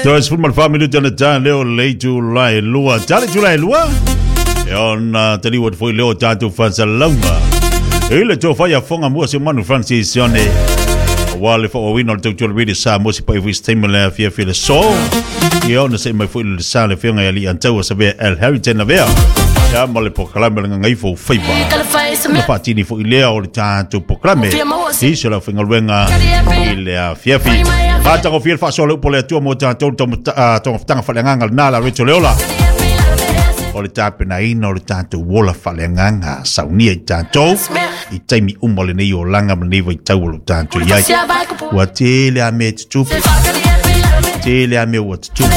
Toe 14 minute na tā leo le Julai 2. Tale Julai 2. E ona tali atu foi leo tātou whansalauga. E le tō whai a whonga mua se manu Francis Sione. Wa le whaawawina o le tautua le Radio Samoa si pai fui steima le afia fia le so. Ia ona se mai foi le sa le whionga i ali antau a savea El Harrington na vea. Ia ma le pokalame le ngangaifo faiva. Na whaatini foi lea o le tātou pokalame. I se lau whaingaluenga i le afiafi. Whātango fia le whaasoa le upo le atua mo tātou tongafutanga whaleanganga le nā la Rachel Leola. O le tāpenaina o le tātou wola whaleanganga saunia i tātou i taimi uma le nei o langa ma nei vai tau o lo tātou iai. Ua tele a me tutupu, tele a me ua tutupu.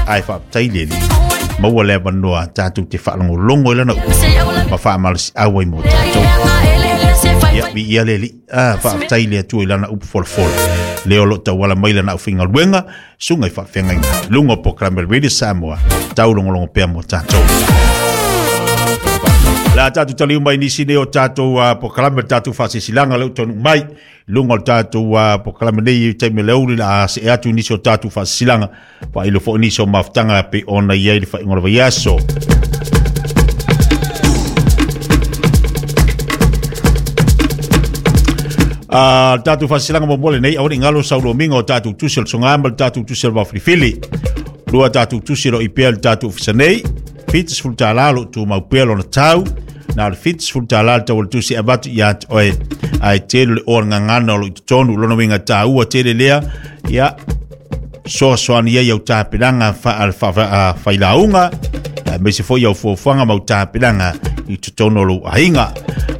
Ai whaapatai lele. Maua le avanoa tātou te whaalongolongo i lana upu. Ma whaamalasi aua i mō tātou. Ia, vi ia le li, ah, whaapatai le atua i lana upu folafola. Leo lo tauala mai lana au whingaluenga, sunga i whaawhengainga. Lunga o Pokrame Radio Samoa, taulongolongo pea mō tātou. La tātou taliu mai nisi nei o tātou pokrame, tātou whaasisilanga leo tonu mai. Lunga o tātou pokrame nei i taimi le uri la se e atu nisi o tātou whaasisilanga. Wha ilo fo nisi o mafutanga pe ona i ai le whaingola vai aso. Tātou whaasisilanga mo mole nei, awani ngalo saulo minga o tātou tusi o le songama, le tātou tusi o le wafilifili. Lua tātou tusi lo i pea le tātou ofisa nei, $70 lo tu mau pea lona tau, na le $70 le tau o le tusi avatu ia te oe. Ai tele le oa ngangana o lo i totonu, lona winga tā ua tele lea, ia, soasoani ai au tāpilanga whailaunga, me se foi au fuafuaga mau tāpilanga i totonu o lou aiga.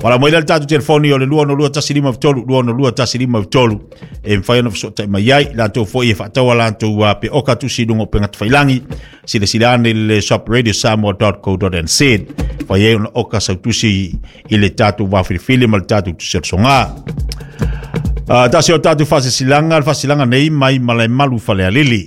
Wala mai le tātou telefoni o le 202 153 202 153 e mwhai ana whasootai mai ai, latou foi e whaataua latou pe oka tusi lunga o pengata whailangi, sile sile ane le shop radiosamoa.co.nz. Whai e ona oka sautusi i le tātou wawhiriwhiri ma le tātou tusi o songa. Tasi o tātou whasesilanga, le whasesilanga nei mai malae malu whale alili.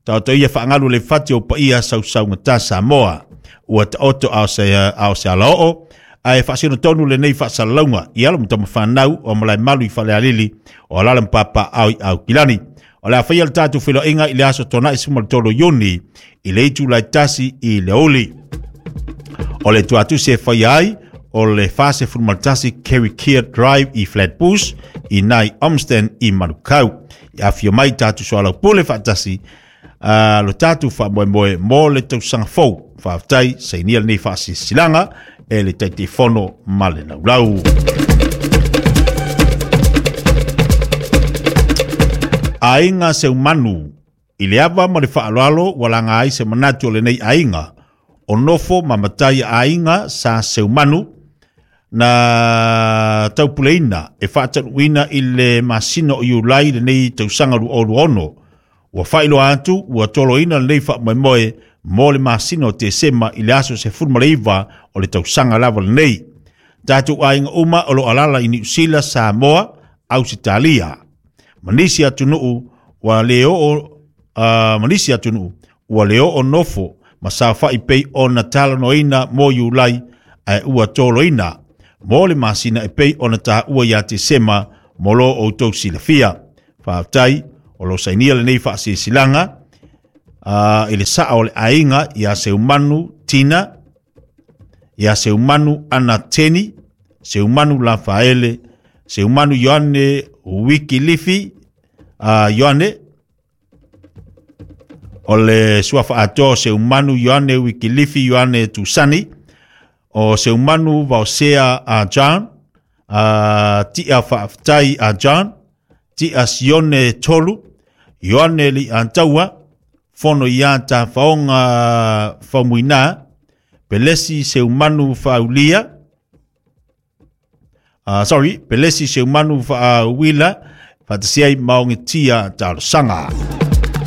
Tātou ia whaangalu le whati o paia sausaunga tā Samoa. Ua ta oto ao se, ao se ala oo, ae whaasino tonu le nei whaasalaunga i alo mutama whanau o malae malu i whale alili o alala mpapa au i au kilani. O le awhaia le tātou whiloinga i le aso tōna i suma le tolo Iuni i le itu lai tasi i le uli. O le tuatu se whai ai o le 41 Kerry Drive i Flatbush i nai Olmsted i Manukau. I awhio mai tātou soalau pule whaatasi lo tātou wha moe mo le tausanga fou. Whaaftai, sainia le nei whaasisilanga e le taitaifono ma le laulau. Aiga Seumanu, i le ava ma le faaloalo ua laga ai se manatu o lenei aiga o nofo ma matai aiga sa Seumanu na taupuleina e faatanuuina i le masina o Iulai lenei tausaga 2026. Ua faailoa atu ua toloina lenei faamoemoe mo le masina o Tesema i le aso 19 o le tausaga lava lenei. Tatou aiga uma o lo alala i Niusila, Samoa, Ausitalia ma nisi atunuu ua le oo ma nisi atunuu ua le oo nofo ma saofaʻi pei ona talanoaina mo Iulai ae ua toloina mo le masina e pei ona taua iā Tesema mo lo outou silafia. Faafetai o lo sainia lenei faasilasilaga i le saa o le aiga iā Seumanu Tina, iā Seumanu Ana Teni, Seumanu Lafaele, Seumanu Ioane Wikilifi, Ioane o le suafa atoa o Seumanu Ioane Wikilifi Ioane Tusani, o Seumanu Vaosea a John, Tia Faafetai a John, Tia Sione Tolu, Ioane Li Antaua, Fono ia Tafaoga Faumuina, Pelesi Seumanu Faulia, sorry, Pelesi Seumanu Faawila, faatasi ai maogetia talosaga.